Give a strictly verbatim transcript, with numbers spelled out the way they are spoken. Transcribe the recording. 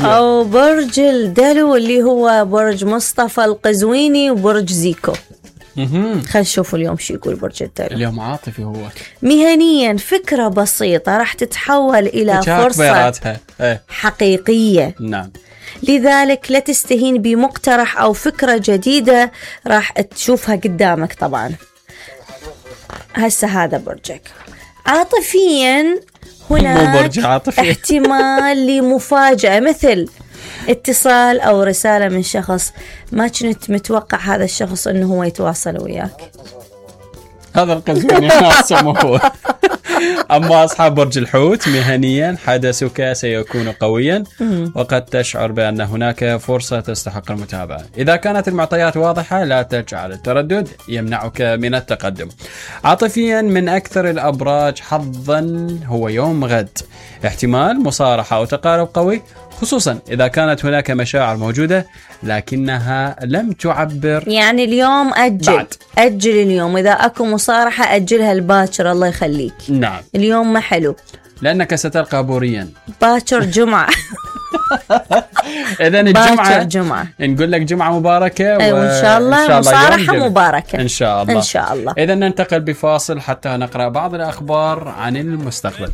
أو برج الدلو اللي هو برج مصطفى القزويني وبرج زيكو. خلينا نشوف اليوم شو يقول برج الدلو. اليوم عاطفي هو. مهنيا فكرة بسيطة راح تتحول إلى فرصة حقيقية. نعم. لذلك لا تستهين بمقترح أو فكرة جديدة راح تشوفها قدامك. طبعا هسه هذا برجك. عاطفيا هناك احتمال لمفاجأة، مثل اتصال أو رسالة من شخص ما كنت متوقع هذا الشخص أنه هو يتواصل وياك. هذا القزويني هو. أما أصحاب برج الحوت مهنيا حدثك سيكون قويا وقد تشعر بأن هناك فرصة تستحق المتابعة. إذا كانت المعطيات واضحة لا تجعل التردد يمنعك من التقدم. عاطفيا من أكثر الأبراج حظا هو يوم غد، احتمال مصارحة أو تقارب قوي، خصوصا إذا كانت هناك مشاعر موجودة لكنها لم تعبر. يعني اليوم أجل بعد. أجل اليوم، إذا أكو مصارحة أجلها الباكر الله يخليك. نعم. اليوم ما حلو لأنك ستلقى بوريا. باكر جمعة. إذن الجمعة جمعة. نقول لك جمعة مباركة. أيوة وإن شاء الله, الله مصارحة مباركة إن شاء الله. إن شاء الله. إذن ننتقل بفاصل حتى نقرأ بعض الأخبار عن المستقبل.